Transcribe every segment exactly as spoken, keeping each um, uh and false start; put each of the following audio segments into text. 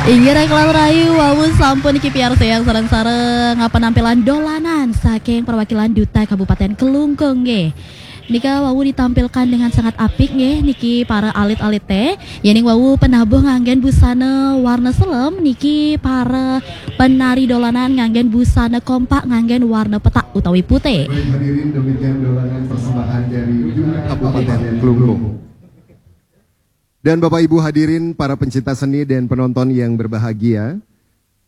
Inggih, raka lan rahayu, wau sampun niki piarsayang sareng-sareng penampilan dolanan saking perwakilan Duta Kabupaten Klungkung nggih. Nika wau ditampilkan dengan sangat apik nggih niki para alit-alit teh. Yening wau penabuh nganggen busana warna selem, niki para penari dolanan nganggen busana kompak nganggen warna petak utawi putih. Baik, hadirin, demikian dolanan persembahan dari Duta Kabupaten Klungkung. Dan Bapak Ibu hadirin, para pencinta seni dan penonton yang berbahagia,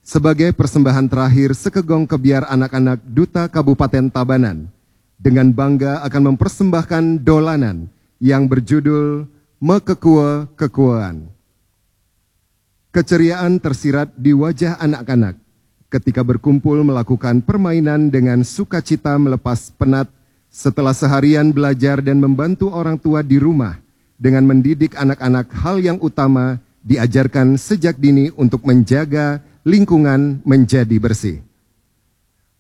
sebagai persembahan terakhir Sekegong Kebyar Anak-anak Duta Kabupaten Tabanan, dengan bangga akan mempersembahkan dolanan yang berjudul Mekekue-kekuean. Keceriaan tersirat di wajah anak-anak ketika berkumpul melakukan permainan dengan sukacita melepas penat setelah seharian belajar dan membantu orang tua di rumah dengan mendidik anak-anak hal yang utama diajarkan sejak dini untuk menjaga lingkungan menjadi bersih.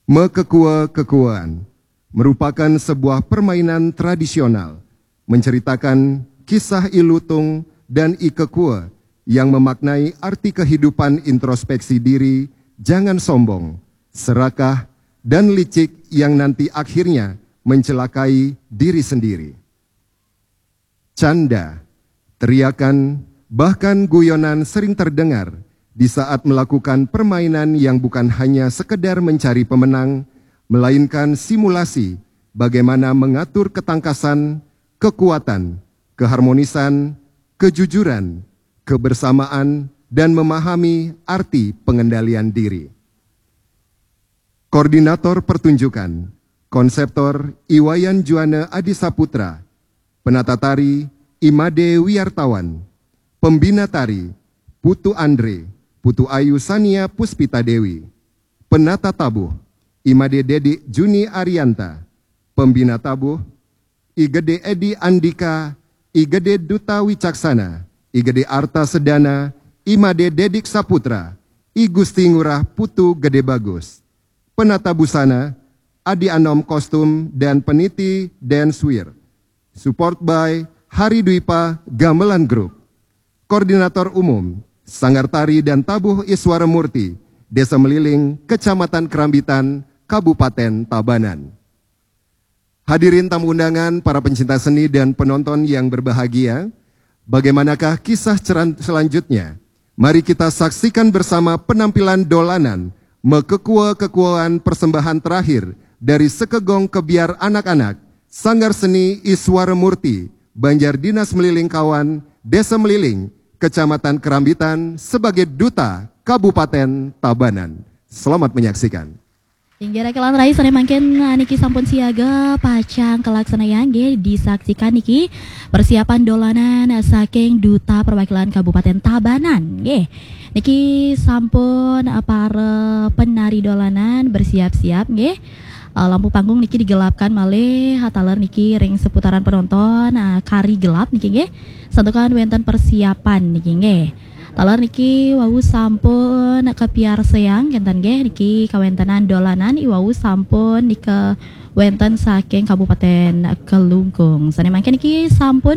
Mekekue-kekuean merupakan sebuah permainan tradisional menceritakan kisah ilutung dan ikekue yang memaknai arti kehidupan introspeksi diri, jangan sombong, serakah, dan licik yang nanti akhirnya mencelakai diri sendiri. Canda, teriakan, bahkan guyonan sering terdengar di saat melakukan permainan yang bukan hanya sekedar mencari pemenang, melainkan simulasi bagaimana mengatur ketangkasan, kekuatan, keharmonisan, kejujuran, kebersamaan, dan memahami arti pengendalian diri. Koordinator pertunjukan, konseptor Iwayan Juana Adi Saputra, penata tari Imade Wiartawan, pembina tari Putu Andre, Putu Ayu Sania Puspita Dewi, penata tabuh Imade Dedi Juni Arianta, pembina tabuh I Gede Edi Andika, I Gede Duta Wicaksana, I Gede Arta Sedana, I Made Dedik Saputra, I Gusti Ngurah Putu Gede Bagus. Penata busana, Adi Anom Kostum dan Peniti Dance Wear. Support by Hari Dwipa Gamelan Group. Koordinator Umum, Sanggar Tari dan Tabuh Iswara Murti, Desa Meliling, Kecamatan Kerambitan, Kabupaten Tabanan. Hadirin tamu undangan, para pencinta seni dan penonton yang berbahagia, bagaimanakah kisah ceran-, selanjutnya? Mari kita saksikan bersama penampilan dolanan mekekue-kekuean persembahan terakhir dari Sekegong Kebyar Anak-anak, Sanggar Seni Iswara Murti, Banjar Dinas Meliling Kawan, Desa Meliling, Kecamatan Kerambitan, sebagai Duta Kabupaten Tabanan. Selamat menyaksikan. Inggih, raka lan rahayu, sané mangkin, ah, niki sampun siaga pacang kalaksanayang nggih, disaksikan niki persiapan dolanan, ah, saking Duta Perwakilan Kabupaten Tabanan nggih. Niki sampun, ah, para penari dolanan bersiap-siap nggih. Ah, lampu panggung niki digelapkan malih, ah, taler niki ring seputaran penonton, ah, kari gelap niki nggih. Santukan wénten persiapan niki nggih. Taler niki wau sampun kapiarsayang kénten nggih, niki kawéntenan dolanan i wau sampun nika wénten saking Kabupaten Klungkung. Sané mangkin niki sampun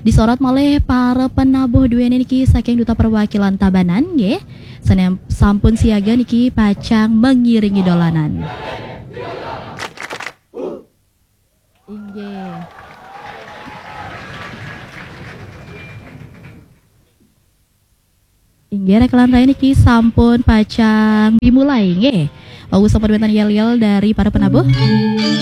disorot malih para penabuh duéné niki saking Duta Perwakilan Tabanan nggih. Sané sampun siaga niki pacang mengiringi dolanan. Inggih. Inggih, raka lan rahayu, niki sampun pacang dimulai nggih. Wau sampun wénten yél-yél dari para penabuh.